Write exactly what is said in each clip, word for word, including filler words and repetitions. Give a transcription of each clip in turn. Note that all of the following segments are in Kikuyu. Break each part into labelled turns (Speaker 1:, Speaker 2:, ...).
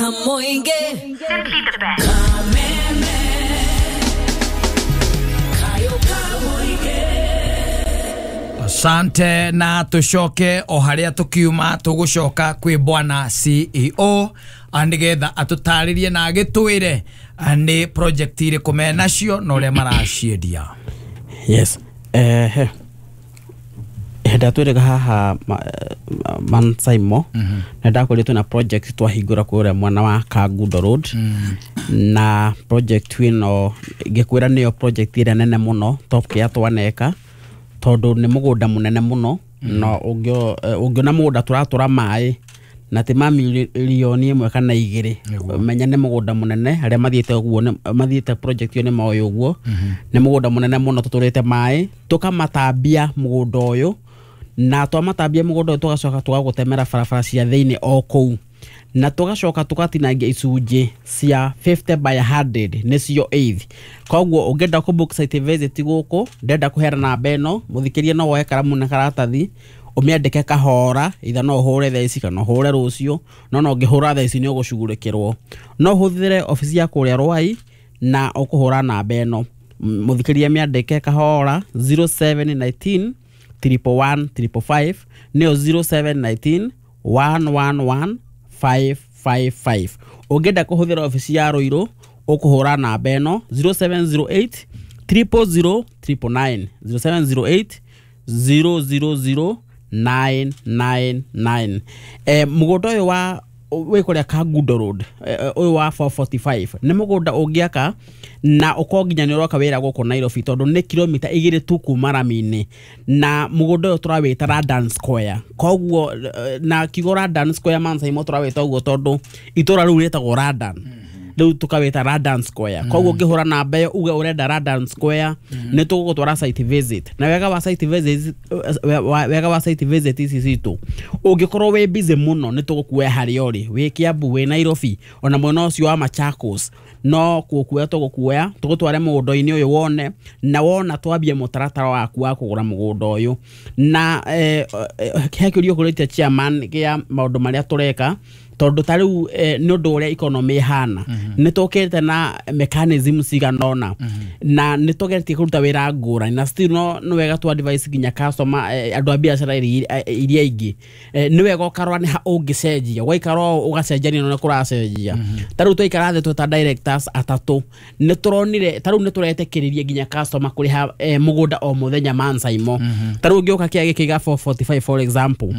Speaker 1: Kamoinge.
Speaker 2: Simply the best.
Speaker 1: Kameme. Kayo Kamoinge.
Speaker 3: Asante na tucoke o haria tukiuma tugucoka kwi bwana C E O anigetha atutaririe na agitwire ni project iriku menacio na uria maraciendia.
Speaker 4: Yes, eh henda twirega haha man Saimo na ndakoretwo na project twahingura kuria mwana wa Kangundo Road na project ino ngikwira niyo project ira nene muno Top Care twaneka tondu ni mugunda munene muno no ungiona mugunda turatura mai na ti ma milioni imwe kana igiri menya ni mugunda munene aria mathiete uguo mathiete project yo ni moyo uguo ni mugunda munene muno tuturite mai tukamatambia mugunda uyu na twamatambia mugunda uyu tugacoka tugagutemera barabara cia thiini o kuu na tugacoka tugatinangia icunjĩ cia fifty by a hundred nicio eighth. Koguo ũngĩenda kũ book site visit gũkũ ndenda kũheana namba ĩno mũthikĩrie no woe karamu na karatathi ũmĩandĩke kahora itha no ũhũre thaa ici kana ũhũre rũciũ no no ũngĩhũra thaa ici nĩ ũgũcugurĩkĩrwo. No ũhũthĩre obici ya kũrĩa Rwai na ũkũhũra namba ĩno mũthikĩrie mĩandĩke kahora zero seven nineteen triple one triple five nĩyo zero seven nineteen one one one five five five. Ũngĩenda kũhũthĩra obici ya Ruiru ũkũhũra namba ĩno zero seven zero eight triple zero triple nine zero seven zero eight zero zero zero nine nine nine. Eh, mũgũnda ũyũ wa wĩ kũrĩa Kangundo Road ũyũ wa four forty-five nĩ mũgũnda ũngĩaka na ũkorwo nginya nĩ ũroka wĩra gũkũ Nairobi tondũ nĩ kilomita igĩrĩ tu kuma rami-inĩ na mũgũnda ũyũ tũrawĩta Radan Square. Koguo na kiugo Radan Square man Saimo tũrawĩta ũguo tondũ itũra rĩu rĩtagwo Radan rĩu tukawĩta Radan Square. Koguo ũngĩhũra namba ĩyo uge ũrenda Radan Square nĩ tũgũgũtwara site visit na wega wa site visit wega wa site visit ici citũ ũngĩkorwo wĩ busy mũno nĩ tũgũkuoya harĩa ũrĩ wĩ Kiambu wĩ Nairobi ona mwena ũcio wa Machakos no gũkuoya tũgũkuoya tũgũtware mũgũnda-inĩ ũyũ wone na wona twambie mũtaratara waku wa kũgũra mũgũnda ũyũ na he kĩũria ũkũrĩtie chairman kĩa maũndũ marĩa tũreka tondu ta riu ni undu uria economy ihana ni tukite na mechanism cigana ona na ni tugeretie kuruta wira ngurani na still no ni wega tu advice nginya customer andu a biacara iria ingi ni wega ukarora ni ha ungicenjia waikara ugacenjania na kuracenjia ta riu twaikara thi tweta directors atatu ni turonire ta riu ni turetekiririe nginya customer kuriha mugunda o muthenya man Saimo ta riu ngioka kia gikiga four forty-five for example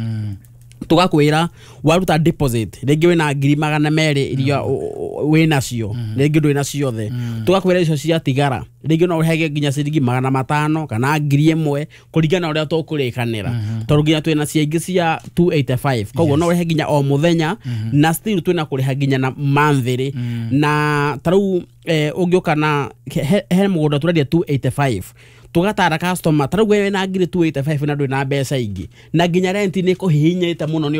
Speaker 4: tugakwira waruta deposit ringi wina ngiri magana meri iria wina cio ringi ndwi ciothe tugakwira icio cia tigara ringi no urehege nginya ciringi magana matano kana ngiri imwe kuringana uria tukurikanira tondu nginya twina cia ingi cia two eighty-five koguo no urehe nginya o muthenya na still twina kuriha nginya na monthly na tariu ungiuka na he mugunda turendia two eighty-five tugatara customer tariu we na ngiri two eighty-five na ndwi na mbeca ingi na nginya rent ni kuhihinyite muno ni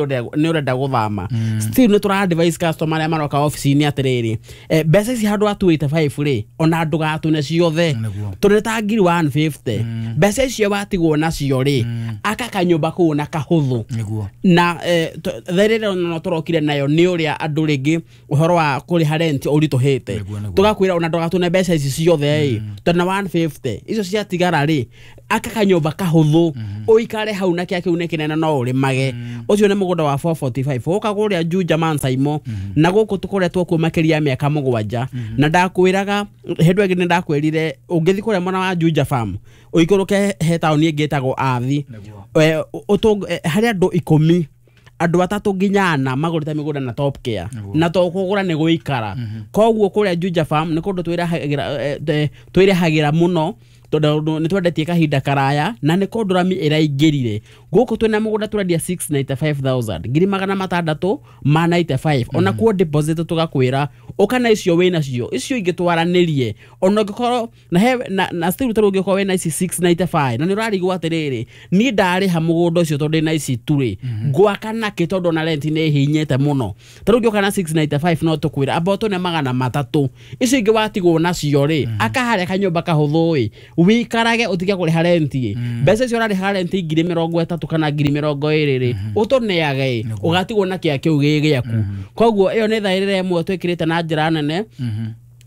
Speaker 4: urenda guthama still ni tura advise customer aria maroka office-ini atiriri mbeca ici handu ha two eighty-five ri ona ndugatune ciothe turi ta ngiri one fifty mbeca icio watigwo nacio ri aka kanyumba kuu na kahuthu na therere no turokire nayo ni uria andu ringi uhoro wa kuriha rent urituhite tugakwira ona ndugatune mbeca ici ciothe ri na one fifty icio cia tigara ri aka kanyumba kahuthu uikare hau na kia kiu ni kinene no urimage ucio ni mugunda wa four forty-five uka kuria Juja man Saimo na guku tukoretwo kuo makiria miaka mugwanja na ndakwiraga hindu ingi ni ndakwirire ungithi kuria mwana wa Juja farm uikuruke he taoni ingi itagwo Athi hari andu ikumi andu atatu nginya ana magurite migunda na Top Care na to kugura ni guikara koguo kuria Juja farm ni kundu twirahagira twirahagira muno tondu ni twendetie kahinda karaya na ni kundu rami iraingirire guku twina mugunda turendia six ninety-five thousand ngiri magana matandatu ma ninety-five ona kuo deposit tugakwira Ũka na icio wĩ nacio, icio ingĩ twaranĩrie. Ona ũngĩkorwo na he na, na still tarĩu ũngĩkorwo wĩna ici six ninety-five na nĩ ũrarigwo atĩrĩrĩ, niĩ ndarĩha mũgũnda ũcio tondũ ndĩna ici tu rĩ, ngwaka nakĩ? Tondũ ona rent nĩ ĩhinyĩte mũno. Tarĩu ũngĩũka na six ninety-five, no tũkwĩra amba ũtũne magana matatũ, icio ingĩ watigwo nacio rĩ, aka harĩa kanyũmba kahũthũ ĩ, wĩikarage ũtige kũrĩha rent ĩ. Mbeca icio ũrarĩha rent ngiri mĩrongo ĩtatũ kana ngiri mĩrongo ĩrĩ rĩ, ũtũneage ĩ, ũgatigwo na kĩa kĩu gĩ gĩaku. Koguo ĩyo nĩ thaĩrĩra ĩmwe twĩkĩrĩte na njĩra nene,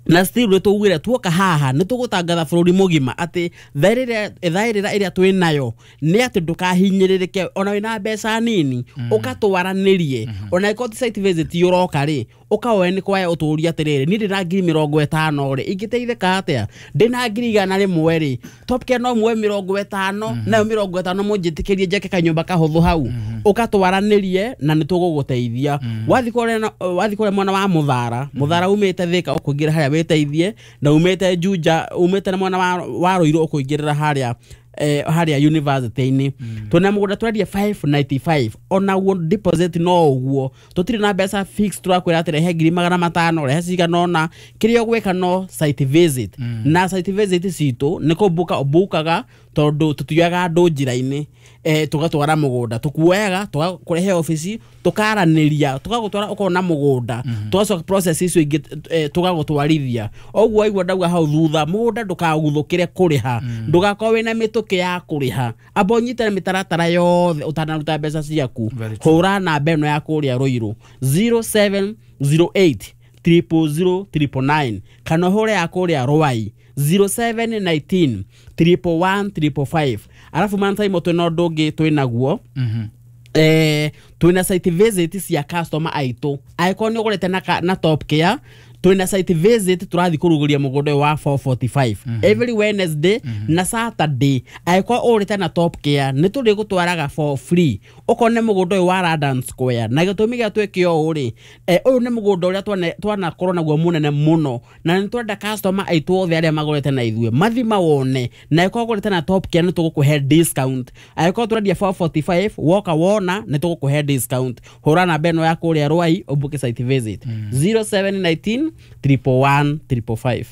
Speaker 4: na still nĩ tũugire tuoka haha nĩ tũgũtangatha bũrũri mũgima atĩ thaĩrĩra thaĩrĩra ĩrĩa twĩ nayo nĩ atĩ ndũkahinyĩrĩrĩke. Ona wĩna mbeca nini, ũkatwaranĩrie. Ona ĩkorwo ti site visit ũroka rĩ, ũkaoe nĩ kwaya ũtũrie atĩrĩrĩ, niĩ ndĩna ngiri mĩrongo ĩtano rĩ, ingĩteithĩka atĩa? Ndĩna ngiri igana rĩmwe rĩ, Top Care no muoe mĩrongo ĩtano, nayo mĩrongo ĩtano mũnjĩtĩkĩrie njake kanyũmba kahũthũ hau. Ũkatwaranĩrie na nĩ tũgũgũteithia. Wathiĩ kũrĩa na- wathiĩ kũrĩa mwena wa Mũthara, Mũthara umĩte Thĩka ũkũingĩra harĩa wĩteithie, na umĩte Juja, umĩte na mwena wa, wa Rũirũ ũkũingĩrĩra harĩa eh, harĩa university-inĩ twĩna mũgũnda tũrendia five ninety-five. Onaguo deposit no ũguo, tũtirĩ na mbeca fix tũrakwĩra atĩ rehe ngiri magana matano, rehe cigana ũna. Kĩrĩa ũgwĩka no site visit, na site visit citũ nĩ kũmbuka ũmbukaga, tondũ tũtioyaga andũ njĩra-inĩ eh, tũgatwara mũgũnda, tũkuoyaga tũgakũrehe obici, tũkaranĩria, tũgagũtwara ũkona mũgũnda, tũgacoka process icio ingĩ eh, tũgagũtwarithia. Ũguo waigua ndauga hau thutha, mũgũnda ndũkaguthũkĩre kũrĩha, ndũgakorwo wĩna mĩtũkĩ ya kũrĩha, amba ũnyitane mĩtaratara yothe ũtanaruta mbeca ciaku.
Speaker 3: Very true.
Speaker 4: Hũra namba ĩno ya kũrĩa Rũirũ, zero seven zero eight triple zero triple nine, kana ũhũre ya kũrĩa Rwai, zero seven nineteen triple one triple five. Arabu mantaimo twĩna ũndũ ũngĩ twĩnaguo, eh, twĩna site visit cia customer aitũ. Angĩkorwo nĩ ũgũrĩte na, ka- na Top Care, twĩna site visit tũrathiĩ kũrugũria mũgũnda ũyũ wa four forty-five every Wednesday na Saturday. Angĩkorwo ũgũrĩte na Top Care, nĩ tũrĩgũtwaraga for free ũkone mũgũnda ũyũ wa London Square. Na gĩtũmi gĩa twĩke ũũ rĩ, eh, ũyũ nĩ mũgũnda ũrĩa twane- twanakorwo naguo mũnene mũno, na nĩ twenda customer aitũ othe arĩa magũrĩte na ithuĩ mathi mawone. Na angĩkorwo ũgũrĩte na Top Care, nĩ tũgũkũhe discount. Angĩkorwo tũrendia four forty-five, woka wona nĩ tũgũkũhe discount. Hũra namba ĩno ya kũrĩa Rwai ũmbuke site visit, zero seven nineteen triple one triple five.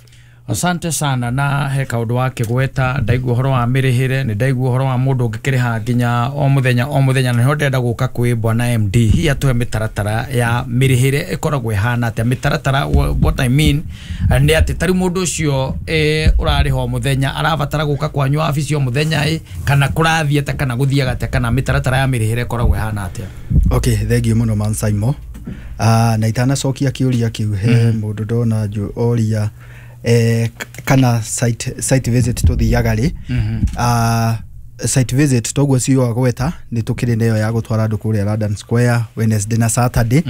Speaker 3: Asante sana. Na he kaundu wakĩgweta, ndaigua ũhoro wa mĩrĩhĩre, nĩ ndaigua ũhoro wa mũndũ ũngĩkĩrĩha nginya o mũthenya o mũthenya, na nĩho ndĩrenda gũka kwĩ bwana M D hihi atũhe mĩtaratara ya mĩrĩhĩre ĩkoragwo ĩhana atĩa. Mĩtaratara, wha- what I mean eh, nĩ atĩ tarĩu mũndũ ũcio eh, ũrarĩha o mũthenya arabatara gũka kwanyu wabici o mũthenya ĩ, kana kũrathiĩ atĩa, kana gũthiaga atĩa, kana mĩtaratara ya mĩrĩhĩre ĩkoragwo ĩhana atĩa?
Speaker 2: Okay, thengiũ mũno man Simon. uh, na itanacokia kĩũria kĩu, he mũndũ ndona njũ oria eh, k- kana site, site visit tũthiaga rĩ. uh, site visit toguo cio agweta, nĩ tũkĩrĩ nayo ya gũtwara andũ kũrĩa London Square Wednesday na Saturday.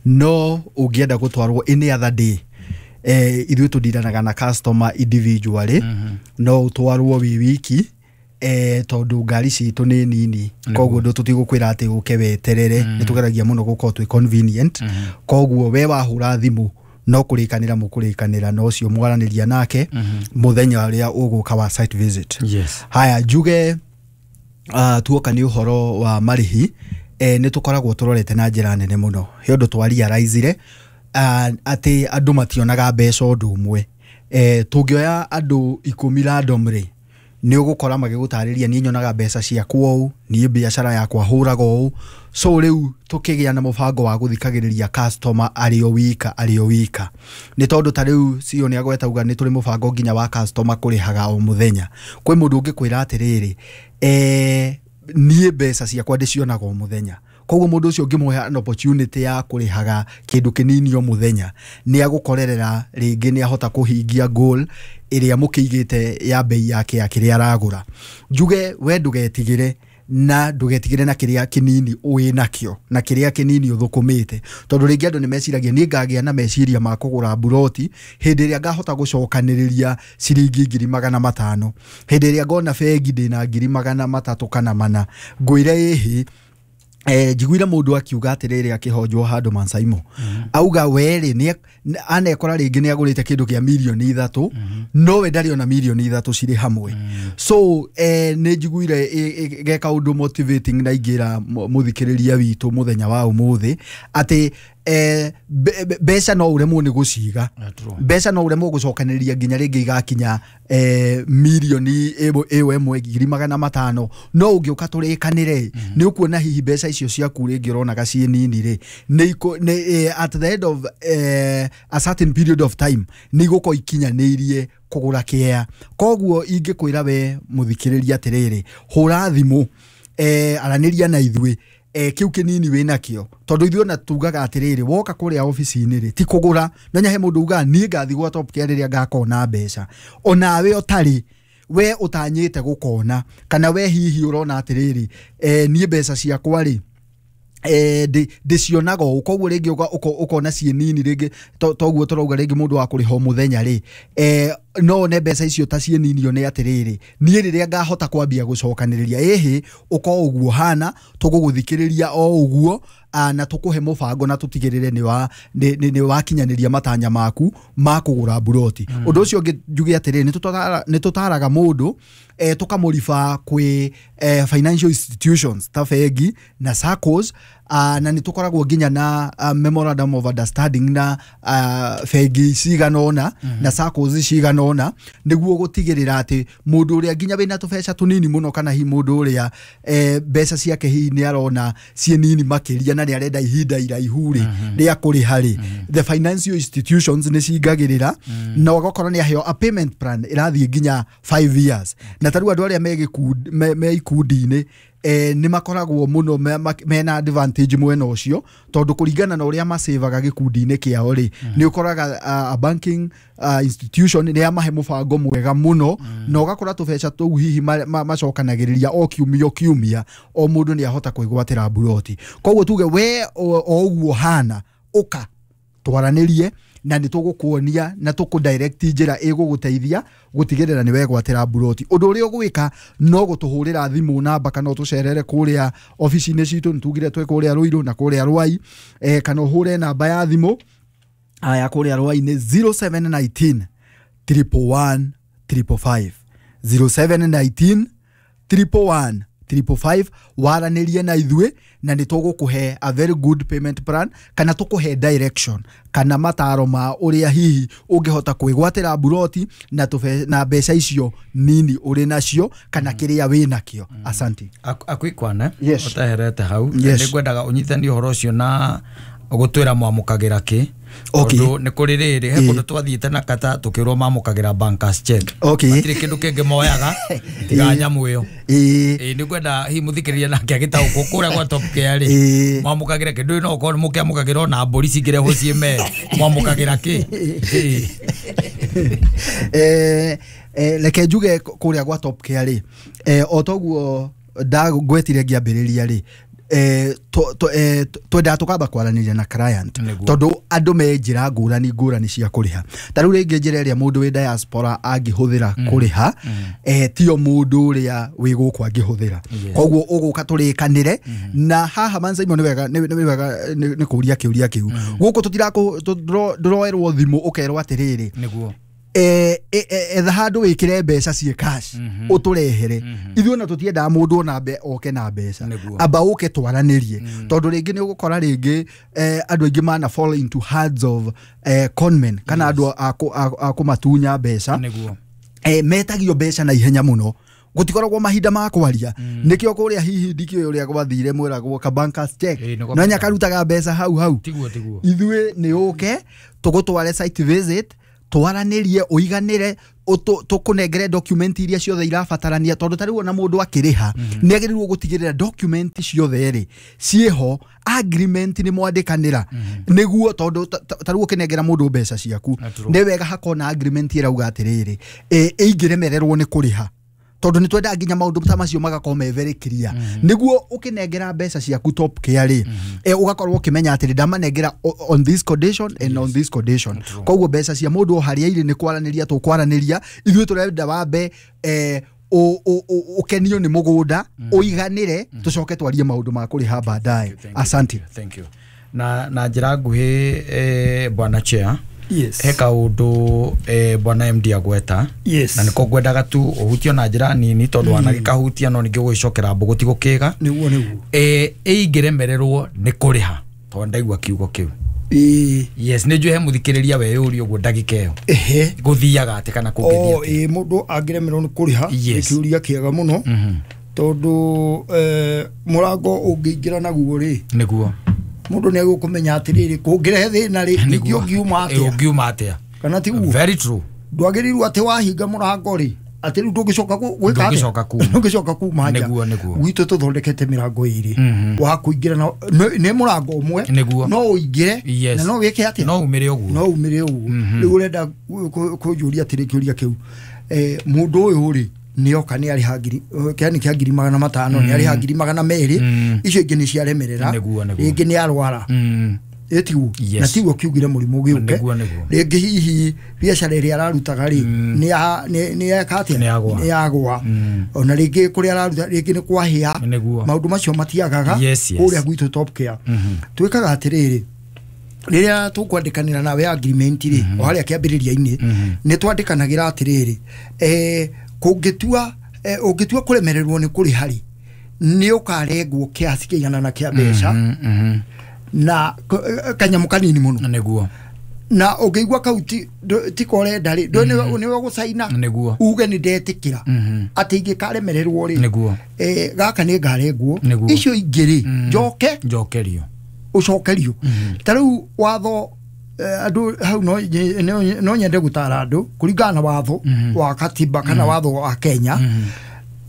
Speaker 2: No ũngĩenda gũtwarwo any other day, eh, ithuĩ tũndiranaga na customer individually. No ũtwarwo wĩ wiki, eh, tondũ ngari citũ nĩ nini, koguo ndũ tũtigũkwĩra atĩ ũke weterere. Nĩ tũgeragia mũno gũkorwo twĩ convenient. Koguo we wahũra thimũ, no kũrĩkanĩra mũkũrĩkanĩra na ũcio mwaranĩria nake mũthenya ũrĩa ũgũka wa site visit.
Speaker 3: Yes.
Speaker 2: Haya, njuge uh, tuoka nĩ ũhoro wa marĩhi, eh, nĩ tũkoragwo tũrorete na njĩra nene mũno. He ũndũ twarealizire uh, atĩ andũ mationaga mbeca ũndũ ũmwe. eh, tũngĩoya andũ ikũmi randomly, nĩ ũgũkora magĩgũtarĩria, niĩ nyonaga mbeca ciakwa ũũ, niĩ biacara yakwa hũraga ũũ. So rĩu tũkĩgĩa na mũbango wa gũthikagĩrĩria customer arĩ o wika arĩ o wika, nĩ tondũ ta rĩu C E O nĩ agweta uga nĩ tũrĩ mũbango nginya wa customer kũrĩhaga o mũthenya. Kwĩ mũndũ ũngĩkwĩra atĩrĩrĩ, eh, niĩ mbeca ciakwa ndĩcionaga o mũthenya. Koguo mũndũ ũcio ũngĩmũhe an opportunity ya kũrĩhaga kĩndũ kĩnini o mũthenya, nĩ agũkorerera rĩngĩ nĩ ahota kũhingia goal ĩrĩa mũkĩigĩte ya bei yake ya kĩrĩa aragũra. Njuge we ndũgetigĩre, na ndũgetigĩre na kĩrĩa kĩnini ũĩ nakĩo na kĩrĩa kĩnini ũthũkũmĩte, tondũ rĩngĩ andũ nĩ meciragia, niĩ ngagĩa na meciria ma kũgũra mburoti hĩndĩ ĩrĩa ngahota gũcokanĩrĩria ciringi ngiri magana matano, hĩndĩ ĩrĩa ngona bengi ndĩna ngiri magana matatũ kana mana. Ngwĩre ĩhĩ, eh, njiguire mũndũ akiuga atĩrĩrĩ akĩhonjwo handũ Mansaimo, auga werĩ nĩ anekora rĩngĩ nĩ agũrĩte kĩndũ kĩa mirioni ithatũ, no we ndarĩ ona mirioni ithatũ cirĩ hamwe. So eh, nĩ njiguire ĩ- ĩ- ge kaũndũ motivating na ingĩra mũthikĩrĩria witũ mũthenya wa ũmũthĩ atĩ eh, mbeca no uremwo nĩ gũciga, mbeca no uremwo gũcokanĩrĩria nginya rĩngĩ igakinya eh, milioni ĩyo ĩmwe ngiri magana matano. No ũngĩũka tũrĩkanĩre nĩ ũkuona hihi mbeca icio ciaku rĩngĩ ũronaga ciĩ nini rĩ, nĩ at the end of eh, a certain period of time nĩ igũkorwo ikinyanĩirie kũgũra kĩea. Koguo ingĩkwĩra we mũthikĩrĩria atĩrĩrĩ, hũra thimũ, eh, aranĩria na ithuĩ, eh, kĩu kĩnini wĩnakĩo, tondũ ithuĩ ona tugaga atĩrĩrĩ, woka kũrĩa obici-inĩ rĩ ti kũgũra. Menya he mũndũ ugaga niĩ ngathiĩ gwa Top Care rĩrĩa ngakona mbeca, onawe ũtarĩ we ũtanyĩte gũkona, kana we hihi ũrona atĩrĩrĩ, eh, niĩ mbeca ciakwa rĩ eh ndĩcionaga ũũ, koguo rĩngĩ ũkona ciĩ nini rĩngĩ, toguo tũrauga rĩngĩ mũndũ wa kũrĩha o mũthenya rĩ, eh, no one mbeca icio ta ciĩ nini, one atĩrĩrĩ niĩ rĩrĩa ngahota kwambia gũcokanĩrĩria ĩhĩ ũko ũguo hana, tũgũgũthikĩrĩria o ũguo na tũkũhe mũbango na tũtigĩrĩre nĩ wa nĩ wakinyanĩria matanya maku ma kũgũra mburoti. Ũndũ ũcio ũngĩ njuge atĩrĩrĩ, nĩ tũtaraga mũndũ eh, tũkamũriba kwĩ eh, financial institutions ta bengi na SACCOs, uh, na nĩ tũkoragwo nginya na uh, memorandum of understanding na uh, bengi cigana ũna mm -hmm. na SACCOs cigana ũna, nĩguo gũtigĩrĩra atĩ mũndũ ũrĩa nginya wĩna tũbeca tũnini mũno, kana hihi mũndũ ũrĩa eh, mbeca ciake hihi nĩ arona ciĩ nini makĩria na nĩ arenda ihinda iraihu rĩ rĩa kũrĩha rĩ, the financial institutions nĩ cingagĩrĩra mm -hmm. na ũgakorwo nĩ aheo a payment plan ĩrathiĩ nginya five years. Na tarĩu andũ arĩa me, me ikundi-inĩ eh, nĩ makoragwo mũno mena advantage mwena ũcio, tondũ kũringana na ũrĩa masevaga gĩkundi-inĩ kĩao rĩ, nĩ ũkoraga a banking uh, institution nĩ yamahe mũbango mwega mũno, mm. na ũgakora tũbeca tũu hihi macokanagĩrĩria o kiumia o kiumia, o mũndũ nĩ ahota kwĩgwatĩra mburoti. Koguo tuge we o ũguo hana, ũka twaranĩrie na nĩ tũgũkuonia na tũkũ direct njĩra ĩgũgũteithia gũtigĩrĩra nĩ wegwatĩra mburoti. Ũndũ ũrĩa ũgwĩka no gũtũhũrĩra thimũ namba, kana ũtũcerere kũrĩa obici-inĩ citũ, nĩ tugire twĩ kũrĩa Ruiru na kũrĩa Ruai, eh, kana ũhũre namba ya thimũ ya kũrĩa Ruai nĩ zero seven nineteen triple one triple five, zero seven nineteen triple one triple five, waranĩrie na ithuĩ na nĩ tũgũkũhe a very good payment plan, kana tũkũhe direction kana mataro ma ũrĩa hihi ũngĩhota kwĩgwatĩra mburoti na tũbe, na mbeca icio nini ũrĩ nacio kana kĩrĩa wĩ nakĩo. Asante.
Speaker 3: Akwikwana
Speaker 2: yes.
Speaker 3: Ũteherete hau
Speaker 2: yes.
Speaker 3: Nĩ ngwendaga ũnyitanie ũhoro ũcio na gũtwĩra mwamũkagĩra kĩ.
Speaker 2: Okay.
Speaker 3: Tondũ nĩ kũrĩ rĩrĩ he kũndũ twathiĩte na kata tũkĩrwo mamũkagĩra bankers check.
Speaker 2: Okay.
Speaker 3: Matirĩ kĩndũ kĩngĩ moyaga tiga nyamũ ĩyo. Ĩĩ nĩ ngwenda hihi mũthikĩrĩria nake agĩtaũkwo kũrĩa gwa Top Care rĩ mwamũkagĩra kĩndũ no ũkorwo mũkĩamũkagĩra ona mbũri cingĩrehwo ciĩ mee mwamũkagĩra kĩ?
Speaker 2: Eh reke njuge kũrĩa gwa Top Care rĩ, eh o toguo ndagwetire ngĩambĩrĩria rĩ, eh twendaga tũkamba kwaranĩria na client, tondũ andũ me njĩra ngũrani ngũrani cia kũrĩha. Ta rĩu rĩngĩ njĩra ĩrĩa mũndũ wĩ diaspora angĩhũthĩra kũrĩha, eh tio mũndũ ũrĩa wĩ gũkũ angĩhũthĩra. Koguo ũgũka tũrĩkanĩre na haha Mansaimo nĩ wega nĩ wega nĩ kũria kĩũria kĩu. Gũkũ tũtirakũ ndũroerwo thimũ ũkerwo atĩrĩrĩ,
Speaker 3: nĩguo
Speaker 2: eh etha handũ wĩkĩre mbeca ciĩ cash ũtũrehere. Ithuĩ ona tũtiendaga mũndũ ona oke na mbeca, amba ũke twaranĩrie, tondũ rĩngĩ nĩ ũgũkora rĩngĩ andũ aingĩ mana fall into hands of conmen kana andũ a kũmatunya mbeca. Metagio mbeca na ihenya mũno, gũtikoragwo mahinda ma kwaria. Nĩkĩo kũrĩa hihi ndikĩũĩ ũrĩa gwathire mwĩragwo ka bankers check no nyakarutaga mbeca hau hau. Ithuĩ nĩ ũke tũgũtware site visit, twaranĩrie ũiganĩre, tũkũnengere document iria ciothe irabatarania, tondũ ta rĩu ona mũndũ akĩrĩha nĩ agĩrĩirwo gũtigĩrĩra document ciothe rĩ ciĩho, agreement nĩ mwandĩkanĩra, nĩguo tondũ ta rĩu ũkĩnengera mũndũ mbeca ciaku nĩ wega hakona agreement ĩrauga atĩrĩrĩ, ĩingĩremererwo nĩ kũrĩha, tondũ nĩ twendaga nginya maũndũ ta macio magakorwo me very clear, nĩguo ũkĩnengera mbeca ciaku Top Care rĩ, ũgakorwo ũkĩmenya atĩrĩ ndamanengera on this condition and on this condition. Koguo mbeca cia mũndũ o harĩa irĩ nĩ kwaranĩria tũkwaranĩria, ithuĩ tũrenda wambe ũkenio nĩ mũgũnda ũiganĩre, tũcoke twarie maũndũ ma kũrĩha baadaye. Asante.
Speaker 3: Thank you. Na na njĩra nguhĩ bwana chair,
Speaker 5: Yes.
Speaker 3: He kaundu eh, bwana M D agweta.
Speaker 5: Yes.
Speaker 3: Na niko ngwendaga tu uhutio na njira nini tondu mm. wanagikahutia no ningi gwicokera mbugu ti gukiga
Speaker 5: niguo niguo
Speaker 3: eh ingiremererwo ni kuriha tondu ndaigua kiugo kiu.
Speaker 5: Ĩĩ.
Speaker 3: Yes, nĩ njũĩ he mũthikĩrĩria weyũria ũguo ndagĩka ĩyo.
Speaker 5: Ehe.
Speaker 3: Gũthiaga atĩ kana kũngĩthiĩ
Speaker 5: O
Speaker 3: atĩa?
Speaker 5: ĩ mũndũ angĩremerwo nĩ kũrĩha nĩ
Speaker 3: Yes.
Speaker 5: kĩũria kĩega mũno tondũ eh, mũrango ũngĩingĩra naguo rĩ
Speaker 3: Nĩguo.
Speaker 5: mũndũ nĩ egũkũmenya atĩrĩrĩ kũngĩrehe thĩna rĩ ningĩ
Speaker 3: Nĩguo.
Speaker 5: ũngiuma
Speaker 3: Ĩ,
Speaker 5: atĩa
Speaker 3: ũngiuma atĩa?
Speaker 5: kana tiguo
Speaker 3: Very true.
Speaker 5: ndwagĩrĩirwo atĩ wahinga mũrango rĩ atĩ rĩu ndũngĩcoka gũ- gwĩka atĩa?
Speaker 3: Ndũngĩcoka kuma.
Speaker 5: ndũngĩcoka kuma nja
Speaker 3: Nĩguo, nĩguo.
Speaker 5: gwitũ tũthondekete mĩrango ĩrĩ
Speaker 3: Mhm.
Speaker 5: wa kũingĩra na nĩ nĩ mũrango ũmwe
Speaker 3: Nĩguo.
Speaker 5: no ũingĩre
Speaker 3: Yes.
Speaker 5: na no wĩke atĩa
Speaker 3: No umĩre ũguo.
Speaker 5: no umĩre ũguo rĩu ũrenda kũ- kũ- kũnjũria atĩrĩ kĩũria kĩu Eh, mũndũ ũyũ rĩ nĩoka nĩ arĩha ngiri kĩani kĩa ngiri magana matano nĩ arĩha ngiri magana merĩ
Speaker 3: Mm.
Speaker 5: icio ingĩ nĩ ciaremerera
Speaker 3: Nĩguo, nĩguo.
Speaker 5: rĩngĩ nĩ arwara
Speaker 3: Mm.
Speaker 5: ĩtiguo
Speaker 3: Yes.
Speaker 5: na tiguo kiugire mũrimũ gĩũke
Speaker 3: Nĩguo, nĩguo.
Speaker 5: rĩngĩ hihi biacara ĩrĩa ararutaga rĩ nĩ ya- nĩ- nĩ yeka atĩa
Speaker 3: Nĩ yagũa.
Speaker 5: nĩ yagũa
Speaker 3: Mm.
Speaker 5: ona rĩngĩ kũrĩa araruta rĩngĩ nĩ kwahĩa
Speaker 3: Nĩguo.
Speaker 5: maũndũ macio matiagaga
Speaker 3: Yes, yes.
Speaker 5: kũrĩa gwitũ Top Care twĩkaga atĩrĩrĩ rĩrĩa tũkwandĩkanĩra nawe agreement rĩ o harĩa kĩambĩrĩria-inĩ nĩ twandĩkanagĩra atĩrĩrĩ eh, kũngĩtua eh, ũngĩtua kũremererwo nĩ kũrĩha rĩ nĩ ũkarengwo kĩasi kĩigana na kĩa mbeca
Speaker 3: Mm, mhm.
Speaker 5: na k- eh, kanyamũ kanini mũno
Speaker 3: Nĩguo.
Speaker 5: na ũngĩigua kau ti ndũ- tiko ũrenda rĩ ndũ nĩwe gũcaina
Speaker 3: Nĩguo.
Speaker 5: uge nĩ ndetĩkĩra
Speaker 3: Mhm.
Speaker 5: atĩ ingĩkaremererwo rĩ
Speaker 3: Nĩguo.
Speaker 5: eh, gaka nĩ ngarengwo
Speaker 3: Nĩguo.
Speaker 5: icio ingĩ rĩ
Speaker 3: Mm.
Speaker 5: njoke
Speaker 3: Njokerio.
Speaker 5: ũcokerio ta rĩu watho eh, andũ hau no nye- no- no nyende gũtara andũ kũringana na watho wa katiba kana watho wa Kenya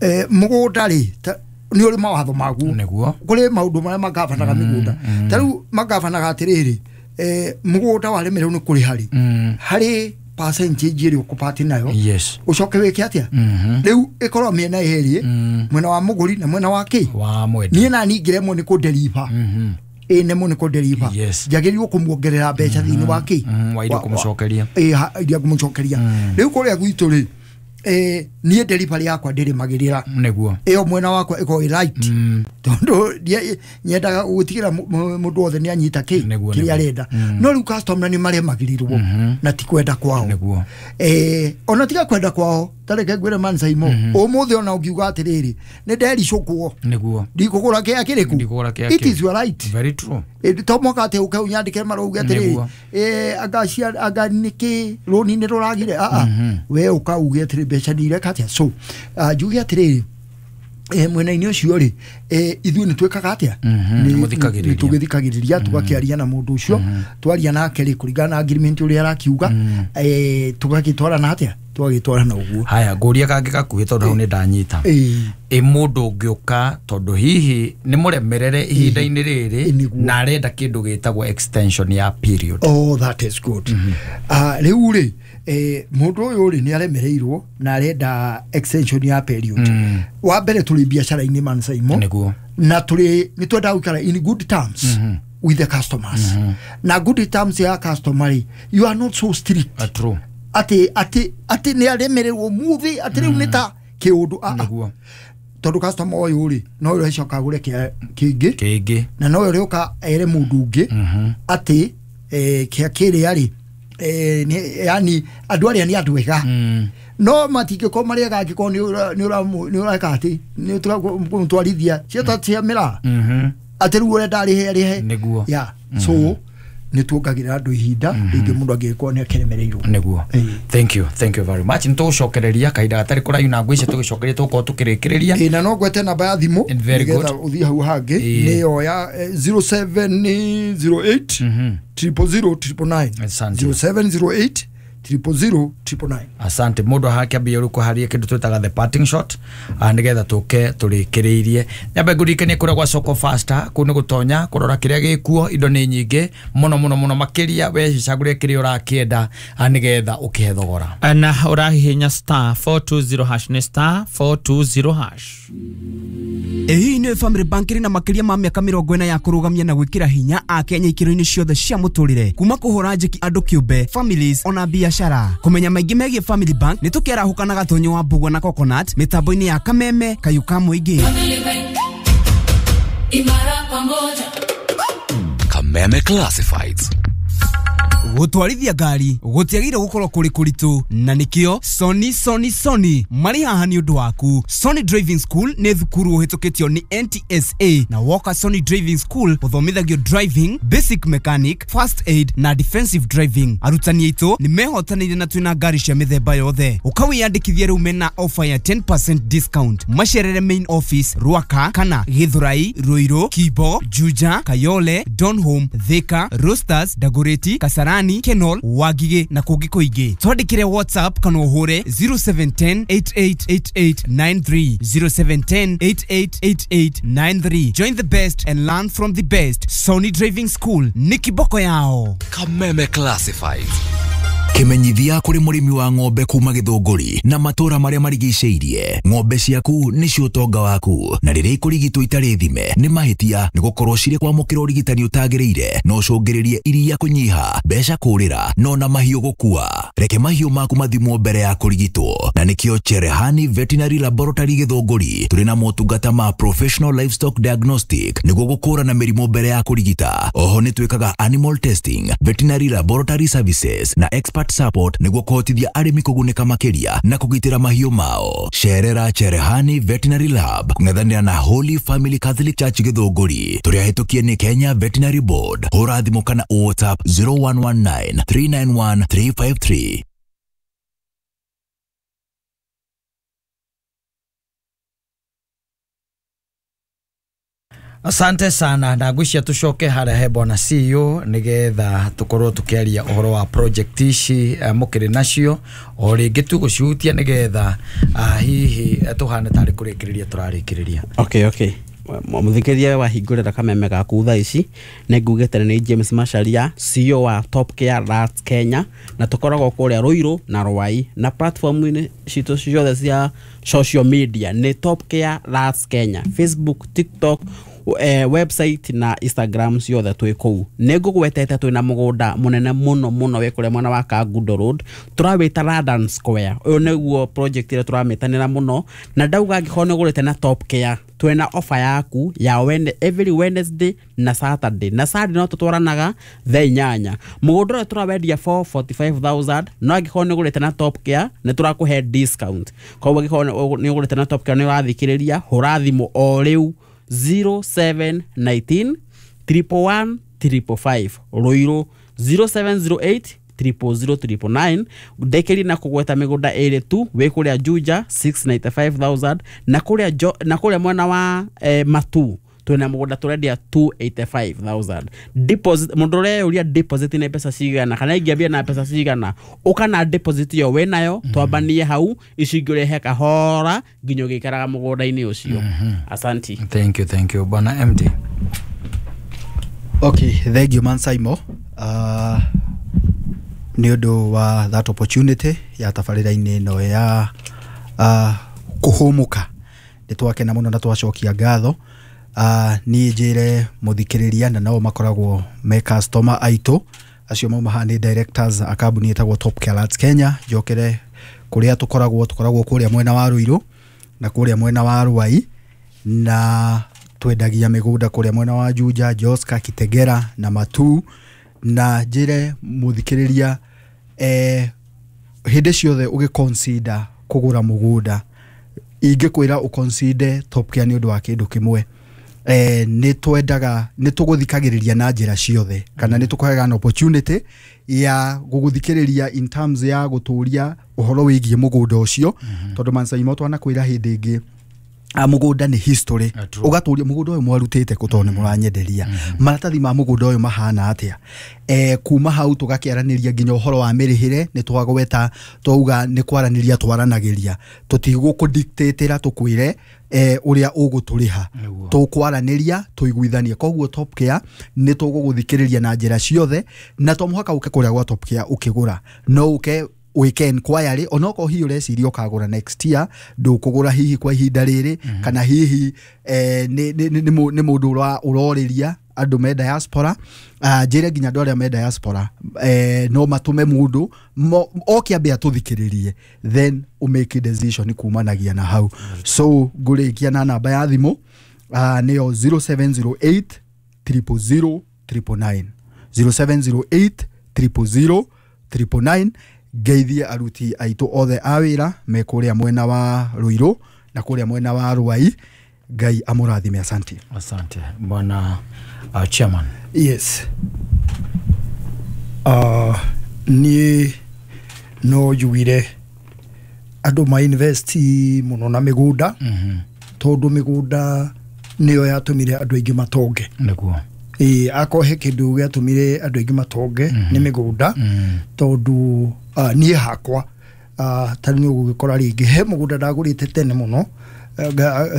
Speaker 5: eh, mũgũnda rĩ ta- nĩ ũrĩ mawatho maguo
Speaker 3: Nĩguo.
Speaker 5: kũrĩ maũndũ marĩa magabanaga mĩgũnda ta rĩu magabanaga atĩrĩrĩ eh, mũgũnda waremererwo nĩ kũrĩha rĩ
Speaker 3: Mm.
Speaker 5: harĩ percentage ĩrĩa ũkũbati nayo
Speaker 3: Yes.
Speaker 5: ũcoke wĩke atĩa
Speaker 3: Mhm.
Speaker 5: rĩu ĩkorwo mĩena ĩrĩ
Speaker 3: Mm.
Speaker 5: mwena wa mũgũri na mwena wa kĩ
Speaker 3: Wa mwendia.
Speaker 5: niĩ nani ingĩremwo nĩ kũnderiba
Speaker 3: Mhm.
Speaker 5: ĩ nemwo nĩ kũnderiba
Speaker 3: Yes.
Speaker 5: njagĩrĩirwo kũmuongerera mbeca thĩinĩ wa kĩ
Speaker 3: Mm, wa iria
Speaker 5: Wa- wa-
Speaker 3: kũmũcokeria.
Speaker 5: ĩ, ha- iria ngũmũcokeria rĩu kũrĩa gwitũ rĩ eh, niĩ delivery yakwa ndĩrĩmagĩrĩra
Speaker 3: Nĩguo.
Speaker 5: ĩyo mwena wakwa ĩkorwo ĩ right
Speaker 3: Mm.
Speaker 5: tondũ ndie- nyendaga gũtigĩra mũ- mũ- mũndũ wothe nĩ anyita kĩ
Speaker 3: Nĩguo,
Speaker 5: kĩrĩa
Speaker 3: nĩguo.
Speaker 5: arenda no rĩu customer nĩ maremagĩrĩrwo na ti kwenda kwao
Speaker 3: Nĩguo.
Speaker 5: eh, ona tiga kwenda kwao tareke ngwĩre mansaimo ũmũthĩ ona ũngiuga atĩrĩrĩ nĩ ndericũkwo
Speaker 3: Nĩguo.
Speaker 5: ndikũgũra kĩa kĩrĩkũ
Speaker 3: Ndikũgũra kĩa
Speaker 5: it
Speaker 3: kĩ.
Speaker 5: is your right
Speaker 3: Very true.
Speaker 5: Eh, to mwaka atĩ ũke ũnyandĩke marauge atĩrĩrĩ
Speaker 3: Nĩguo.
Speaker 5: eh, anga cia anga nĩkĩ rũni nĩ rũragire aa we ũka uge atĩrĩ mbeca nĩ ireka atĩa so ah, njuge atĩrĩrĩ eh, mwena-inĩ ũcio rĩ eh, ithuĩ nĩ twĩkaga atĩa
Speaker 3: Mhm,
Speaker 5: Nĩ-
Speaker 3: nĩmũthikagĩrĩria.
Speaker 5: nĩ tũgĩthikagĩrĩria tũgakĩaria na mũndũ ũcio twaria nake rĩ kũringana na agreement ũrĩa arakiuga eh, tũgagĩtwarana atĩa tũgagĩtwarana ũguo
Speaker 3: Haya, ngũria kangĩ gakuhĩ tondũ hau nĩ ndanyita.
Speaker 5: Ĩĩ.
Speaker 3: Ĩ mũndũ ũngĩũka tondũ hihi nĩ mũremerere ihinda-inĩ rĩrĩ
Speaker 5: Ĩ, nĩguo.
Speaker 3: na arenda kĩndũ gĩtagwo extension ya period.
Speaker 5: Oh, that is good. Ah, rĩu rĩ eh, mũndũ ũyũ rĩ nĩ aremereirwo na arenda extension ya period
Speaker 3: Mm.
Speaker 5: wa mbere tũrĩ biacara-inĩ mansaimo
Speaker 3: Nĩguo.
Speaker 5: na tũrĩ nĩ twendaga gũikara in good terms with the customers na good terms ya customer rĩ you are not so strict
Speaker 3: Uh, true.
Speaker 5: atĩ atĩ atĩ nĩ aremererwo muthĩ atĩ rĩu nĩ ta kĩũndũ Ah, ah.
Speaker 3: Nĩguo.
Speaker 5: tondũ customer ũyũ rĩ no ũrĩa agũre kĩa kĩngĩ
Speaker 3: Kĩngĩ.
Speaker 5: na no ũrĩũka ere mũndũ ũngĩ atĩ eh, kĩa kĩrĩa rĩ eh, nĩ- yani andũ arĩa nĩ andũ ega
Speaker 3: Mm.
Speaker 5: no matingĩkorwo marĩ ega angĩkorwo nĩ ũra- nĩ ũramu- nĩ ũreka atĩ nĩ ũramũtwarithia cieta cia mĩraa
Speaker 3: Mhm.
Speaker 5: atĩ rĩu ũrenda arĩhe arĩhe
Speaker 3: Nĩguo.
Speaker 5: ya so nĩ tuongagĩrĩra andũ ihinda rĩngĩ mũndũ angĩgĩkorwo nĩ akĩremereirwo
Speaker 3: Nĩguo.
Speaker 5: Ĩĩ.
Speaker 3: Thank you. Thank you very much. Nĩ tũgũcokereria kahinda gatarĩ kũraihu na ngwĩcia tũgĩcokereria tũgũkorwo tũkĩrĩkĩrĩria.
Speaker 5: ĩ na no ngwete namba ya thimũ
Speaker 3: And very
Speaker 5: nĩgetha
Speaker 3: good.
Speaker 5: ũthiĩ hau hangĩ
Speaker 3: Ĩĩ.
Speaker 5: nĩyo ya eh, zero seven zero eight triple zero triple nine
Speaker 3: Asante.
Speaker 5: zero seven zero eight triple zero triple nine
Speaker 3: Asante mũndũ hakĩambia rĩu kũharia kĩndũ twĩtaga the parting shot ah, nĩgetha tũke tũrĩkĩrĩirie nyambe ngũririkanie kũrĩa gwa soko faster kũu nĩ gũtonya kũrora kĩrĩa gĩkuo indo nĩ nyingĩ mũno mũno mũno makĩria we cagũre kĩrĩa ũrakĩenda ah, nĩgetha ũkĩhe thogora
Speaker 6: na ũrahihinya star four two zero hash nĩ star four two zero hash
Speaker 7: Ĩ hihi nĩ Family Bank ĩrĩ na makĩria ma mĩaka mĩrongo ĩna ya kũrũgamia na gwĩkĩra hinya akenya ikĩro-inĩ ciothe cia mũtũrĩre kuma kũhũra njeki andũ kĩũmbe families ona biacara kũmenya maingĩ megiĩ Family Bank nĩ tũkĩarahũka na gatonyo wa mbũgua na coconut mĩtambo-inĩ ya kameme kayũ ka mũingĩ.
Speaker 1: Family Bank, imara pamoja.
Speaker 8: Kameme Classifieds.
Speaker 7: Gũtwarithia ngari gũtiagĩrĩire gũkorwo kũrĩ kũritũ, na nĩkĩo Sony Sony Sony marĩ haha nĩ ũndũ waku. Sony Driving School nĩ thukuru ũhĩtũkĩtio nĩ N T S A, na woka Sony Driving School ũthomithagio driving, basic mechanic, first aid na defensive driving. Arutani aitũ nĩ mehotanĩire na twĩna ngari cia mĩthemba yothe. Ũkawĩyandĩkithia rĩu mena offer ya ten percent discount. Macerere main office Ruaka kana Githurai, Ruiru, Kibo, Juja, Kayole, Donholm, Thika, Roasters, Dagoretti, Kasarani, Kenol, Wangige na kũngĩ kũingĩ. Twandĩkĩre WhatsApp kana ũhũre zero seven ten eight eight eight eight nine three, zero seven ten eight eight eight eight nine three. Join the best and learn from the best. Sony Driving School nĩ kiboko yao.
Speaker 8: Kameme Classifieds. Kimenyithia kuri murimi wa ng'ombe kuma Githunguri na matura maria marigiceirie. Ng'ombe ciaku nicio utonga waku, na riria ikurigitwo itari thime ni mahitia, ni gukorwo ciri kwamukira urigitani utagiriire no ucungiririe iria kunyiha, mbeca kurira no na mahiu gukua. Reke mahiu maku mathimwo mbere ya kurigitwo, na nikio Cherehani Veterinary Laboratory Githunguri turi na motungata ma professional livestock diagnostic niguo gukurana mirimu mbere ya kurigita. Oho ni twikaga animal testing, veterinary laboratory services na expert support niguo kuhotithia arimi kugunĩka makĩria na kũgitĩra mahiũ mao. Cerera Cherehani Veterinary Lab kũng'ethanĩra na Holy Family Catholic Church Githunguri. Tũrĩ ahĩtũkie nĩ Kenya Veterinary Board. Hũra thimũ kana WhatsApp zero one one nine three nine one three five three.
Speaker 3: Asante sana na ngwĩciria tũcoke harĩa he bwana C E O nĩgetha tũkorwo tũkĩaria ũhoro wa project ici mũkĩrĩ nacio o rĩngĩ tũgũcihutia nĩgetha hihi tũhane tarĩ kũrĩkĩrĩria tũrarĩkĩrĩria.
Speaker 4: Okay, okay. Mũthikĩrĩria wahingũrĩra kameme gaku thaa ici nĩ ngugĩte nĩ James Macharia, C E O wa Top Care Rats Kenya, na tũkoragwo kũrĩa Ruiru na Ruai, na platform-inĩ citũ ciothe cia social media nĩ Top Care Rats Kenya, Facebook, TikTok, eh, website na Instagram ciothe twĩ kũu. Nĩ ngũgwetete twĩna mũgũnda mũnene mũno mũno wĩ kũrĩa mwena wa Kangundo Road, tũrawĩta London Square. Ũyũ nĩguo project ĩrĩa tũramĩtanĩra mũno, na ndauga angĩkorwo nĩ ũgũrĩte na Top Care twĩna offer yaku ya wene, every Wednesday na Saturday, na Saturday no tũtwaranaga thaa inyanya. Mũgũnda ũrĩa tũrawendia four forty five thousand, no angĩkorwo nĩ ũgũrĩte na Top Care nĩ tũrakũhe discount. Koguo angĩkorwo nĩ ũgũrĩte na Top Care nĩ ũrathikĩrĩria, hũra thimũ o rĩu zero seven nineteen triple one triple five, Ruiru zero seven zero eight triple zero triple nine. Ndekeri na kugweta mĩgũnda ĩrĩ tu, wĩ kũrĩa Juja six ninety five thousand na kũrĩa jo, na kũrĩa mwena wa eh, Matu twĩna mũgũnda tũrendia two eighty five thousand. Deposit mũndũ ũreyũria deposit nĩ mbeca cigana kana ingĩambia na mbeca cigana, ũka na deposit ĩyo wĩnayo twambanie hau, icio ingĩ ũrehe kahora nginya ũgĩikaraga mũgũnda-inĩ ũcio. Asanti.
Speaker 3: Thank you, thank you bwana M D.
Speaker 2: Okay, thank you man Saimo. Uh, nĩ ũndũ wa that opportunity ya tabarĩra-inĩ ĩno ya uh, kũhũmũka. Nĩ twakena mũno na twacokia ngatho. Uh, niĩ njĩre mũthikĩrĩria na nao makoragwo me customer aitũ acio mauma haha nĩ directors a kambuni ĩtagwo Top Care Rats Kenya. Njokere kũrĩa tũkoragwo, tũkoragwo kũrĩa mwena wa Ruiru na kũrĩa mwena wa Ruai, na twendagia mĩgũnda kũrĩa mwena wa Juja, Joska, Kitegera na Matu. Na njĩre mũthikĩrĩria eh, hĩndĩ ciothe ũgĩconsider kũgũra mũgũnda, ingĩkwĩra ũconsider Top Care nĩ ũndũ wa kĩndũ kĩmwe. Eh, nĩ twendaga nĩ tũgũthikagĩrĩria na njĩra ciothe, kana nĩ tũkũheaga an opportunity ya gũgũthikĩrĩria in terms ya gũtũria ũhoro wĩgiĩ mũgũnda ũcio, tondũ Mansaimo twanakwĩra hĩndĩ ĩngĩ mũgũnda nĩ history, ũgatũria mũgũnda ũyũ mwarutĩte kũ tondũ nĩ mũranyenderia, maratathi ma mũgũnda ũyũ mahana atĩa. Eh, kuma hau tũgakĩaranĩria nginya ũhoro wa mĩrĩhĩre, nĩ twagweta twauga nĩ kwaranĩria twaranagĩria, tũtigũkũdictatĩra tũkwĩre eh, ũrĩa ũgũtũrĩha, tũkwaranĩria tũiguithanie. Koguo Top Care nĩ tũgũgũthikĩrĩria na njĩra ciothe, na to mũhaka ũke kũrĩa gwa Top Care ũkĩgũra, no ũke wike inquiry onokorwo hihi ũreciria ũkagũra next year, ndũkũgũra hihi kwa ihinda rĩrĩ, kana hihi eh, nĩ nĩ mũndũ ũrorĩria andũ me diaspora. Uh, njĩre nginya andũ arĩa me diaspora eh, no matũme mũndũ oke ambe atũthikĩrĩrie then ũmake decision kumanagia na hau. So ngũrĩkia na namba ya thimũ uh, nĩyo zero seven zero eight triple zero triple nine, zero seven zero eight triple zero triple nine. Ngeithie aruti aitũ othe a wĩra me kũrĩa mwena wa Ruiru na kũrĩa mwena wa Ruai. Ngai amũrathime. Asante.
Speaker 3: Asante bwana uh, chairman.
Speaker 5: Yes. Uh, niĩ no njugire andũ ma invest mũno na mĩgũnda,
Speaker 3: mm -hmm.
Speaker 5: tondũ mĩgũnda nĩyo yatũmire andũ aingĩ matonge.
Speaker 3: Nĩguo.
Speaker 5: Ĩĩ, akorwo he kĩndũ gĩatũmire andũ aingĩ matonge
Speaker 3: mm -hmm.
Speaker 5: nĩ mĩgũnda,
Speaker 3: mm -hmm.
Speaker 5: tondũ uh, niĩ hakwa uh, tarĩ nĩ ũgũgĩkora rĩngĩ he mũgũnda ndagũrĩte tene mũno,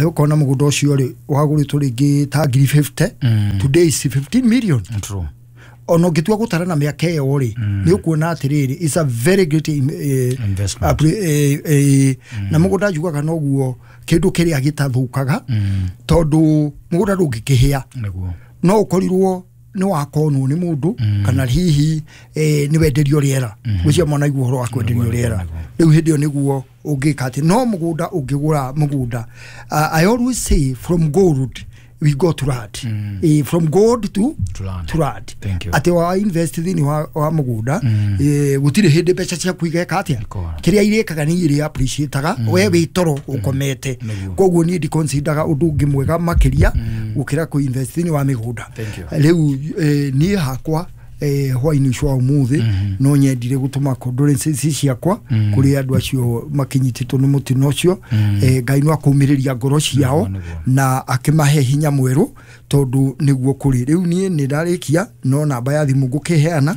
Speaker 5: ũkona mũgũnda ũcio rĩ wagũrĩtwo rĩngĩ ta ngiri fifty,
Speaker 3: mm.
Speaker 5: today is fifteen million.
Speaker 3: True.
Speaker 5: Ona ũngĩtua gũtara na mĩaka ĩyo rĩ, nĩ ũkuona atĩrĩrĩ it's a very great eh,
Speaker 3: investment.
Speaker 5: Eh, eh, mm. Na mũgũnda njugaga noguo kĩndũ kĩrĩa gĩtathũkaga,
Speaker 3: mm.
Speaker 5: tondũ mũgũnda ndũngĩkĩhĩa.
Speaker 3: Nĩguo.
Speaker 5: No ũkorirwo nĩ wakonwo nĩ mũndũ,
Speaker 3: mm.
Speaker 5: kana hihi eh, nĩ wenderio rĩera, gwĩcia mwana igua ũhoro wa kwenderio rĩera, rĩu hĩndĩ ĩyo nĩguo ũngĩka atĩ no mũgũnda ũngĩgũra mũgũnda. Uh, I always say from gold we go to land.
Speaker 3: Mm.
Speaker 5: Eh, from gold to
Speaker 3: to land.
Speaker 5: To land.
Speaker 3: Thank you.
Speaker 5: Atĩ wa invest thĩinĩ wa, wa mũgũnda,
Speaker 3: mm.
Speaker 5: eh, gũtirĩ hĩndĩ mbeca ciaku igeka atĩa, kĩrĩa irĩkaga nĩ irĩ appreciate-aga,
Speaker 3: mm.
Speaker 5: we wĩ toro ũkomete.
Speaker 3: Mm.
Speaker 5: Koguo niĩ ndiconsideraga ũndũ ũngĩ mwega makĩria
Speaker 3: mm.
Speaker 5: gũkĩra kũ invest thĩinĩ wa mĩgũnda.
Speaker 3: Thank you.
Speaker 5: Rĩu eh, niĩ hakwa eh, hwainĩ ũcio wa ũmũthĩ,
Speaker 3: mm -hmm.
Speaker 5: no nyendire gũtũma condolences ciakwa
Speaker 3: mm.
Speaker 5: kũrĩ andũ acio makinyitĩtwo nĩ mũtino ũcio.
Speaker 3: mm.
Speaker 5: eh, Ngai no akũmĩrĩria ngoro ciao
Speaker 3: Nĩguo, nĩguo.
Speaker 5: na akĩmahe hinya mwerũ tondũ nĩguo kũrĩ. Rĩu niĩ nĩ ndarĩkia, no namba ya thimũ ngũkĩheana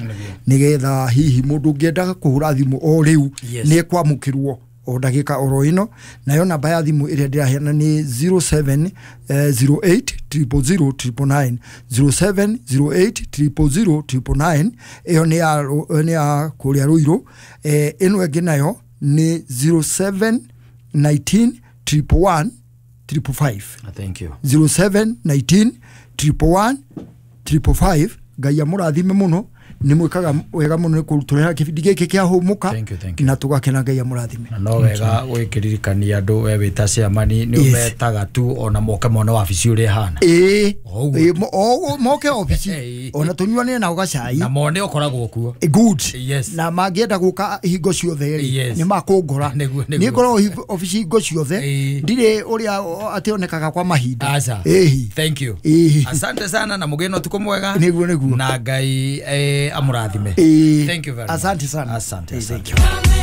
Speaker 5: nĩgetha hihi mũndũ ũngĩenda kũhũra thimũ o rĩu
Speaker 3: Yes.
Speaker 5: nĩ ekwamũkĩrwo o ndagĩka oro ĩno. Nayo namba ya thimũ ĩrĩa ndĩraheana nĩ zero seven zero eight triple zero triple nine, zero seven zero eight triple zero triple nine. Ĩyo nĩ ya nĩ ya kũrĩa Ruiru. Eh, ĩno ĩngĩ nayo nĩ zero seven nineteen triple one triple five.
Speaker 3: Thank you.
Speaker 5: zero seven nineteen triple one triple five. Ngai amũrathime mũno, nĩ mwĩkaga wega mũno nĩ kũrutũrĩra kĩbindi gĩkĩ kĩa Hũmũka,
Speaker 3: Thank you, thank you.
Speaker 5: na tũgakena. Ngai amũrathime.
Speaker 3: Na no wega gwĩkĩririkania andũ we wĩ ta chairman nĩ
Speaker 5: Yes.
Speaker 3: ũmetaga tu ona moke mone wabici ũrĩa ĩhana.
Speaker 5: Ĩĩ,
Speaker 3: O ũguo.
Speaker 5: ĩĩ, mo- o- moke obici
Speaker 3: Ĩĩ.
Speaker 5: ona tũnyuanĩre nao gacai
Speaker 3: Na mone ũkoragwo kuo.
Speaker 5: Good.
Speaker 3: Yes.
Speaker 5: Na mangĩenda gũka hingo ciothe rĩ,
Speaker 3: Yes.
Speaker 5: nĩ makũngora.
Speaker 3: Nĩguo, nĩguo.
Speaker 5: Niĩ ngoragwo hingo- obici hingo ciothe,
Speaker 3: Ĩĩ.
Speaker 5: ndirĩ ũrĩa atĩonekaga kwa mahinda.
Speaker 3: Aca.
Speaker 5: Ĩĩ.
Speaker 3: Thank you.
Speaker 5: Ĩĩ.
Speaker 3: Asante sana na mũgĩe na ũtukũ mwega.
Speaker 5: Nĩguo, nĩguo.
Speaker 3: Na Ngai eh, amũrathime.
Speaker 5: Ĩĩ.
Speaker 3: Thank you very much.
Speaker 5: Asante sana.
Speaker 3: Asante,
Speaker 5: Ĩĩ,
Speaker 3: asante.
Speaker 5: thank you.